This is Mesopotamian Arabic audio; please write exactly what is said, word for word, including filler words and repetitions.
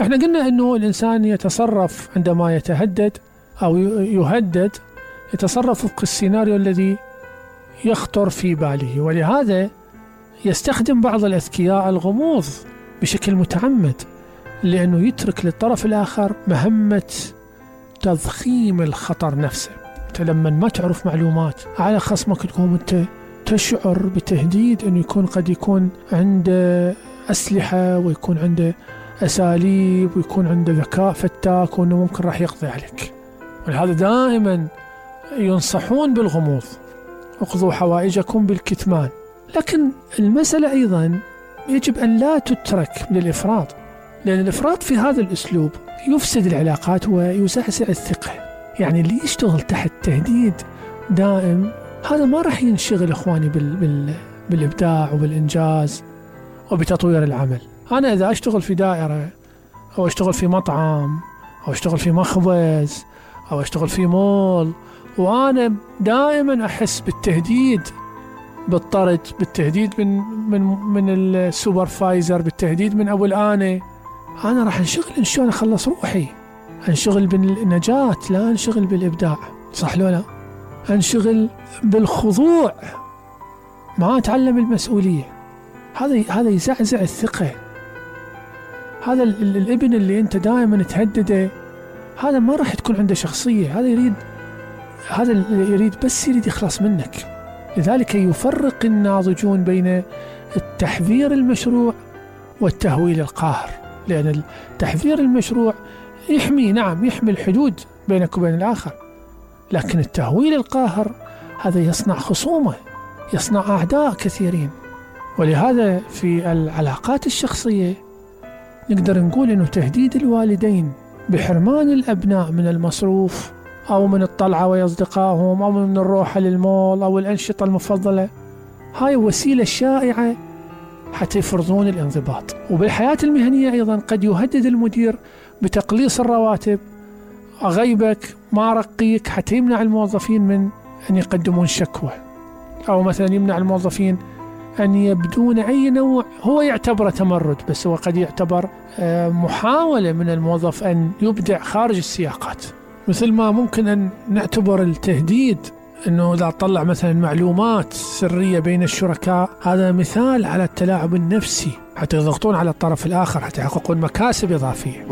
احنا قلنا انه الانسان يتصرف عندما يتهدد او يهدد، يتصرف وفق السيناريو الذي يخطر في باله، ولهذا يستخدم بعض الأذكياء الغموض بشكل متعمد، لأنه يترك للطرف الآخر مهمة تضخيم الخطر نفسه. أنت لما ما تعرف معلومات على خصمك تقوم أنت تشعر بتهديد أنه يكون قد يكون عنده أسلحة ويكون عنده أساليب ويكون عنده ذكاء فتاك وأنه ممكن راح يقضي عليك. ولهذا دائما ينصحون بالغموض، اقضوا حوائجكم بالكتمان. لكن المسألة أيضا يجب أن لا تترك للإفراط، لأن الإفراط في هذا الأسلوب يفسد العلاقات ويزعزع الثقة. يعني اللي يشتغل تحت تهديد دائم هذا ما راح ينشغل إخواني بال بال بالإبداع وبالإنجاز وبتطوير العمل. أنا إذا أشتغل في دائرة أو أشتغل في مطعم أو أشتغل في مخبز أو أشتغل في مول وأنا دائما أحس بالتهديد، بالطرد، بالتهديد من من من السوبرفايزر، بالتهديد من أبو الآنة، أنا راح أنشغل إن شلون أخلص روحي، أنشغل بالنجاة لا أنشغل بالإبداع. صح لو لا؟ أنشغل بالخضوع ما أتعلم المسؤولية. هذا هذا يزعزع الثقة. هذا الابن اللي أنت دائما تهدده هذا ما راح تكون عنده شخصية، هذا يريد هذا اللي يريد بس يريد يخلص منك. لذلك يفرق الناضجون بين التحذير المشروع والتهويل القاهر، لأن التحذير المشروع يحمي، نعم يحمي الحدود بينك وبين الآخر، لكن التهويل القاهر هذا يصنع خصومة، يصنع أعداء كثيرين. ولهذا في العلاقات الشخصية نقدر نقول أنه تهديد الوالدين بحرمان الأبناء من المصروف أو من الطلعة ويا أصدقائهم أو من الروحة للمول أو الأنشطة المفضلة، هاي وسيلة شائعة حتى يفرضون الانضباط. وبالحياة المهنية أيضا قد يهدد المدير بتقليص الرواتب، أغيبك، ما أرقيك، حتى يمنع الموظفين من أن يقدمون شكوى، أو مثلا يمنع الموظفين أن يبدون أي نوع هو يعتبره تمرد، بس هو قد يعتبر محاولة من الموظف أن يبدع خارج السياقات. مثل ما ممكن أن نعتبر التهديد أنه إذا طلع مثلا معلومات سرية بين الشركاء هذا مثال على التلاعب النفسي حتى يضغطون على الطرف الآخر حتى يحققون مكاسب إضافية.